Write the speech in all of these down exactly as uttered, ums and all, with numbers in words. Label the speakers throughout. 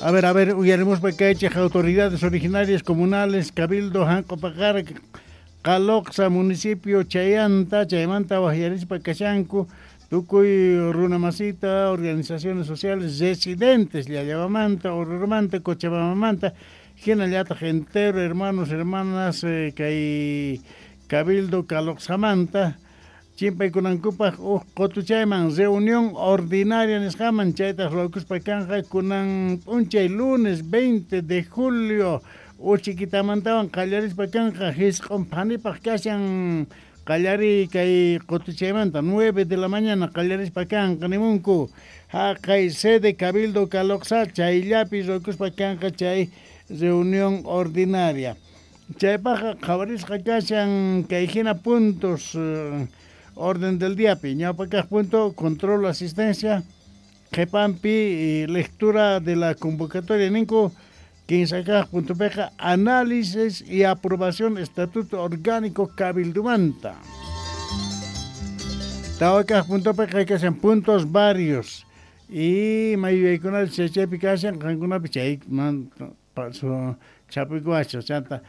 Speaker 1: A ver, a ver, uyarimuspa kaychej autoridades originarias comunales, Cabildo, Hanqopaqara, Calocsa, municipio Chayanta, chaymanta wajyarispa kashanku, tukuy runamasita, organizaciones sociales, residentes, Llallawamanta, Oruromanta, Cochabambamanta, hinallataq entero, hermanos, hermanas, eh, kay Cabildo Calocsamanta, chimpaykunankupaq uj qotuchayman reunión ordinaria nisqaman chaytaq ruwakuspa kanqa kunan p'unchay lunes veinte de julio uchikitamantawan qallarispa kanqa hisq'un phanipaq kashan qallariy kay qotuchaymanta nueve de la mañana qallarispa kanqa nimunku haqay sede Cabildo Calocsa chayllapi ruwakuspa kanqa chay reunión ordinaria chaypaqqa qhawarisqa kashan kay hina puntos eh, orden del día, ñawpa punto, control asistencia, qhepampi, lectura de la convocatoria ninku, quince punto peja, análisis y aprobación estatuto orgánico cabildumanta. Tawa punto peja, que hacen puntos varios. Y mayuyaykunata chaypi kashan, qankunapi chay man chapikuacha, chanta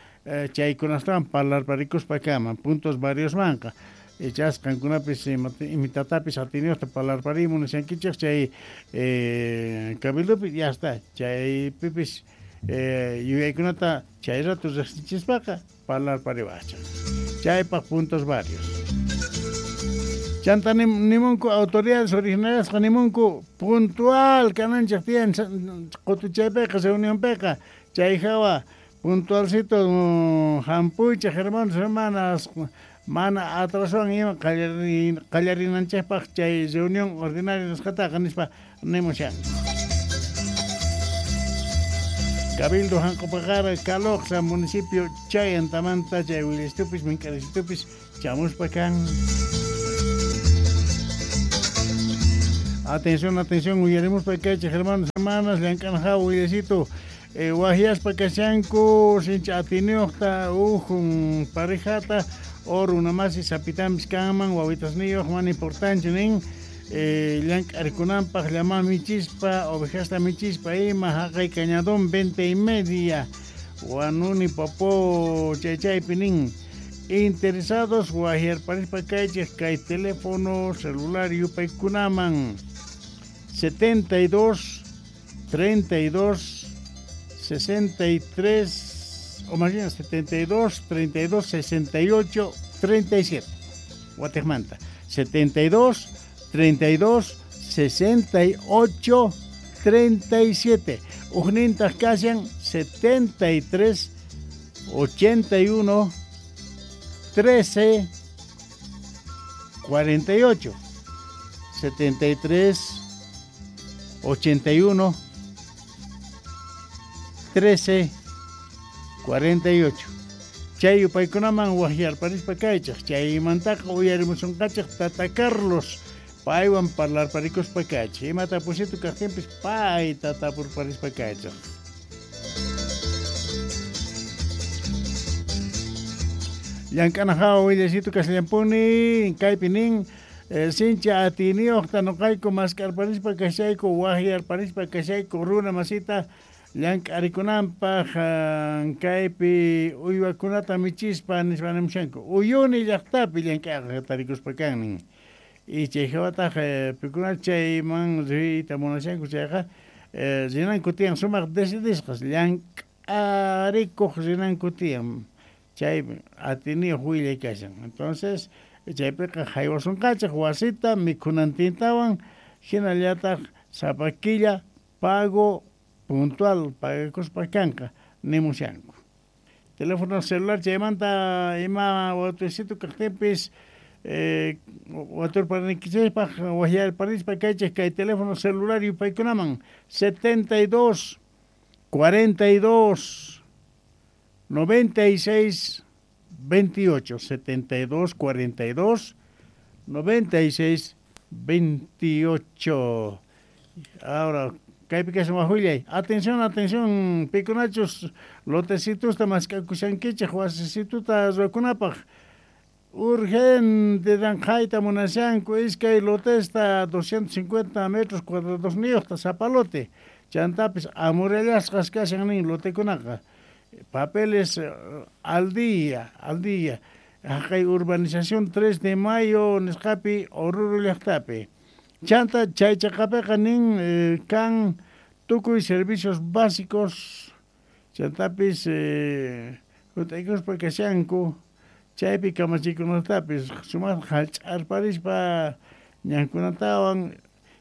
Speaker 1: chaykunastawan parlarparikuspa kaman, puntos varios manqa. Echas qankunapis imitatapis atiniyuqta parlarparimu nishankichej chay eh, cabildopi ya está chaypipis eh, yuyaykunata chay rato riqsichispaqa parlarpariwachaq chaypaq puntos varios chanta nimunku autoridades originariasqa nimunku puntual kananchej tiyan qutuchaypiqa reunionpiqa chay hawa puntualcito hampuychej hermanos hermanas mana atrasowan ima qallarinanchejpaq chay reunión ordinaria nisqataqa nispa nimushan. Cabildo Hanqopaqara Calocsa municipio Chayantamanta chay willasitupis mink'arisitupis chamuspa kan. Atención, atención, uyarimuspa kaychej hermanos, hermanas, llank'anajawa willasito eh, wajyaspa kashanku sincha atiniyuqta ujun parejata o runamasi sapitampis kanman wawitasniyuq mana importante nin eh, llank'arikunanpaq llama michispa ovejasta michispa ima haqay cañadón veinte y media Huanuni Popó chay chaypi nin interesados wajyarparispa kaychej kay teléfono celular yupaykunaman setenta y dos, treinta y dos, sesenta y tres o más bien setenta y dos, treinta y dos, sesenta y ocho, treinta y siete. Guatemala. setenta y dos, treinta y dos, sesenta y ocho, treinta y siete. Ujnintas kashan setenta y tres, ochenta y uno, trece, cuarenta y ocho. setenta y tres, ochenta y uno, trece, cuarenta y ocho. Chay yupaykunaman wajyarparispa kaychaj chaymantaqa uyarimusunqachej tata Carlos paywan parlarparikuspa kaychej imata pusitu kaqtinpis payta tapurparispa kaychej. Llank'ana hawa willasitu kasllampuni kaypi nin eh, sincha atiniyuqta nuqayku mask'arparispa kashayku wajyarparispa kashayku runa masita llank'arikunanpaq kaypi uywakunata michispa nispa nimushanku Uyuni llaqtapi llank'aqa tarikuspa kan nin y chay hawataq pikuna chayman riyta munashanku chayqa rinanku tiyan sumaq decidisqas llank'arikuq rinanku tiyan chay atiniyuq willay kashan entonces chaypiqa haywasunqachej wasita mikhunantintawan hinallataq sapa killa pago puntual pagakuspa kanqa nimushanku. Teléfono celular chaymanta ima watuysito kaqtinpis eh, waturparnikichejpaq wajyarparispa kaychej kay teléfono celular yupaykunaman setenta y dos, cuarenta y dos, noventa y seis, veintiocho, setenta y dos, cuarenta y dos, noventa y seis, veintiocho. Ahora kaypi kashan wajuyllay. Atención, atención, pikunachus lotecitusta mask'akushankichej wasisituta ruwakunapaq. Urgente ranqhayta munashanku iskay lotesta doscientos cincuenta metros cuadrados niyuqta sapa lote. Chantapis amurallasqas kashan nin lotekunaqa. Papeles al día, al día. Haqay urbanización tres de mayo nisqapi Oruro llaqtapi. Chanta chay chaqapiqa nin eh, kan tukuy servicios básicos. Chantapis eh, hut'aykuspa kashanku chaypi kamachikunatapis sumaqta hallch'arparispa ñankunatawan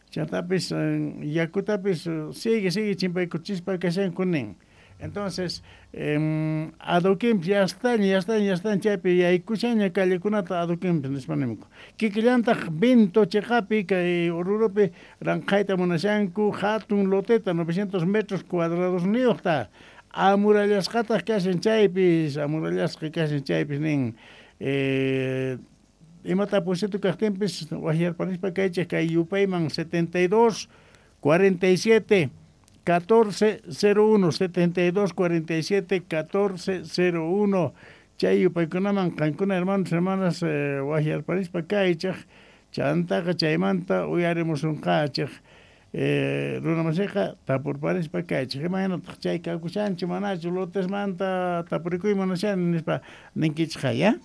Speaker 1: chantapis yakutapis sigue sigue chimpaykuchispa kashanku nin. Entonces, eh, adoquinpis ya están, ya están, ya están chaypi yaykushaña callekunata adoquinpis nispa nimunku. Kikillantaq Vinto chiqapi kay Oruropi ranqhayta munashanku hatun loteta novecientos metros cuadrados niyuqta. Amurallasqataq kashan chaypis, amurallasqa kashan chaypis nin. Eh, imata pusitu kaqtinpis waqyarparispa kaychik kay yupayman setenta y dos, cuarenta y siete, catorce cero uno, setenta y dos, cuarenta y siete, catorce cero uno. Chay yupaykunaman qankuna hermanos, hermanas, eh, waqyarparispa kaychik chantaqa chaymanta uyarimusunqachik. Eh, runamasiqa tapurparispa kaychik imaynataq chay kakushanchu manachu lotesmanta tapurikuy munashani nispa ninkichik ya.